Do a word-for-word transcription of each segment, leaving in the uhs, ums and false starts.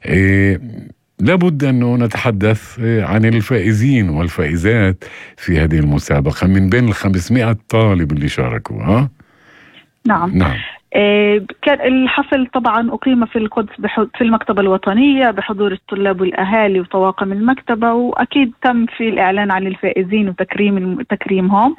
إيه لابد أنه نتحدث عن الفائزين والفائزات في هذه المسابقة من بين الخمسمائة طالب اللي شاركوا. ها؟ نعم. نعم. إيه كان الحفل طبعا أقيم في القدس في المكتبة الوطنية بحضور الطلاب والأهالي وطواقم المكتبة، وأكيد تم في الإعلان عن الفائزين وتكريم تكريمهم،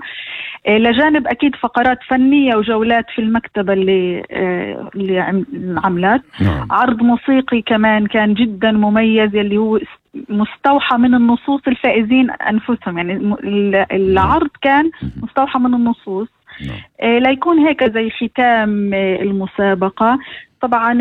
إيه لجانب أكيد فقرات فنية وجولات في المكتبة اللي إيه اللي عملت. نعم. عرض موسيقي كمان كان جدا مميز اللي هو مستوحى من النصوص الفائزين أنفسهم، يعني العرض كان مستوحى من النصوص. نعم. إيه ليكون هيك زي ختام إيه المسابقة. طبعا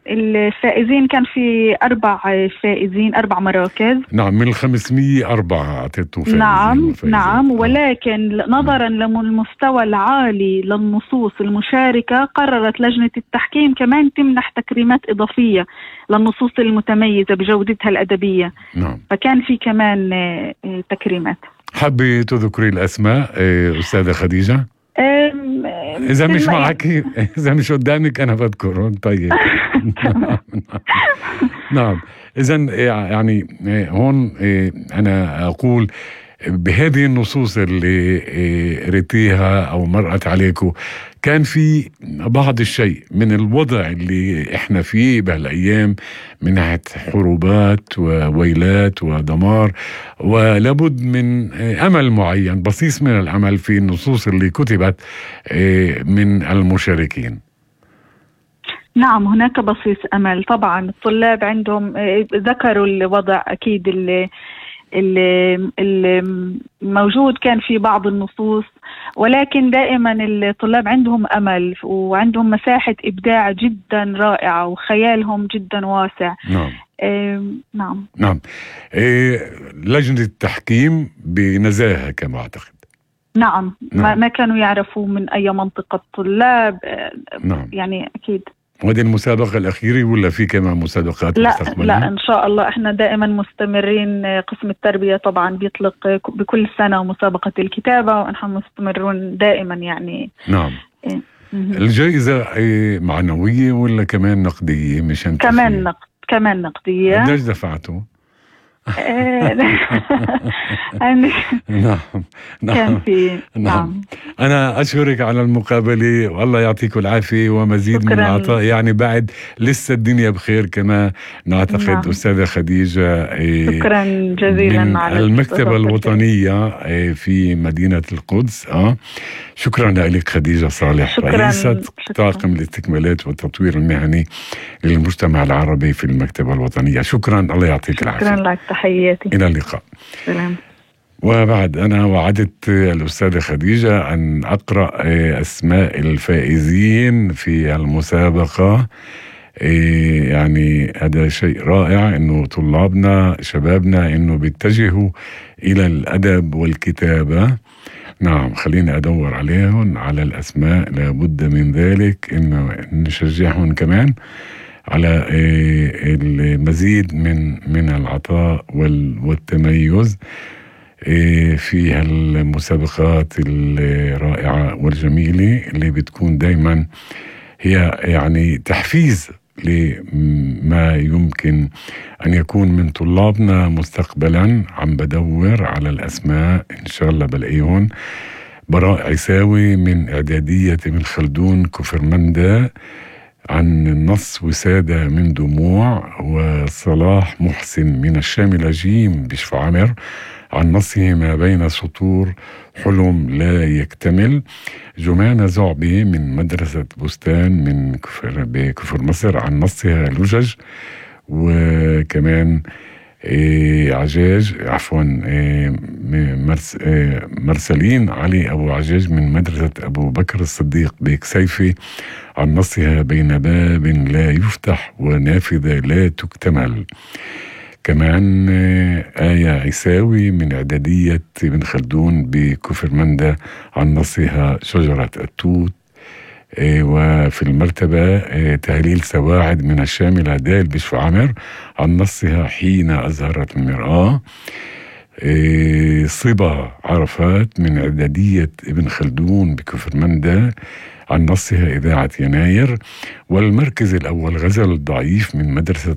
الفائزين كان في أربع فائزين أربع مراكز. نعم، من الخمسمية أربعة أعطيتوا فائزين. نعم وفائزين. نعم، ولكن نظرا للمستوى العالي للنصوص المشاركة قررت لجنة التحكيم كمان تمنح تكريمات إضافية للنصوص المتميزة بجودتها الأدبية. نعم. فكان في كمان تكريمات. حابة تذكري الأسماء أستاذة خديجة؟ إذا مش معك، إذا مش قدامك أنا بذكرهم. طيب. نعم. نعم. إذن يعني هون أنا أقول بهذه النصوص اللي قريتيها أو مرقت عليكم كان في بعض الشيء من الوضع اللي إحنا فيه بهالأيام من ناحية حروبات وويلات ودمار، ولابد من أمل معين، بصيص من الأمل في النصوص اللي كتبت من المشاركين. نعم، هناك بصيص أمل. طبعا الطلاب عندهم ذكروا الوضع أكيد اللي الموجود كان في بعض النصوص، ولكن دائما الطلاب عندهم أمل وعندهم مساحة إبداع جدا رائعة وخيالهم جدا واسع. نعم. إيه نعم. نعم. إيه لجنة التحكيم بنزاهة كما أعتقد. نعم. نعم. ما كانوا يعرفوا من أي منطقة طلاب. نعم. يعني أكيد. وهذه المسابقة الأخيرة ولا في كمان مسابقات لا مستقبلية؟ لا إن شاء الله إحنا دائما مستمرين. قسم التربية طبعا بيطلق بكل سنة مسابقة الكتابة ونحن مستمرون دائما يعني. نعم. إيه. الجائزة معنوية ولا كمان نقدية؟ مشان كمان نقد كمان نقدية. قديش دفعتوا؟ نعم. نعم. كان في. نعم. أنا أشكرك على المقابلة والله يعطيكم العافية ومزيد من العطاء، يعني بعد لسه الدنيا بخير كما نعتقد. نعم. أستاذة خديجة شكرا جزيلا من على المكتبة الوطنية في مدينة القدس. أه شكرا لك خديجة صالح، رئيسة طاقم الاستكمالات والتطوير المهني للمجتمع العربي في المكتبة الوطنية. شكرا، الله يعطيك العافية. شكرا لك، تحياتي، إلى اللقاء. سلام. وبعد أنا وعدت الأستاذة خديجة أن أقرأ أسماء الفائزين في المسابقة. يعني هذا شيء رائع إنه طلابنا شبابنا إنه بيتجهوا إلى الأدب والكتابة. نعم، خليني أدور عليهم على الأسماء، لابد من ذلك إنه نشجعهم كمان على المزيد من من العطاء والتميز في هالمسابقات الرائعة والجميلة اللي بتكون دايما هي يعني تحفيز لما يمكن أن يكون من طلابنا مستقبلا. عم بدور على الأسماء إن شاء الله بلاقيهم. براء عيساوي من إعدادية ابن خلدون كفرمندا عن النص وسادة من دموع، وصلاح محسن من الشاملة جيم بشفع عمر عن نصه ما بين سطور حلم لا يكتمل. جمانة زعبي من مدرسة بستان من كفر بكفر مصر عن نصها لجج. وكمان إيه عجاج عفوا إيه مرس إيه مرسلين علي أبو عجاج من مدرسة أبو بكر الصديق بكسيفي عن نصها بين باب لا يفتح ونافذة لا تكتمل. كمان آية عيساوي من إعدادية ابن خلدون بكفرمندا عن نصها شجرة التوت. وفي المرتبة تهليل سواعد من الشاملة دال بشفع عمر عن نصها حين أزهرت المرآة. صبا عرفات من إعدادية ابن خلدون بكفرمندا عن نصها إذاعة يناير. والمركز الأول غزل ضعيف من مدرسة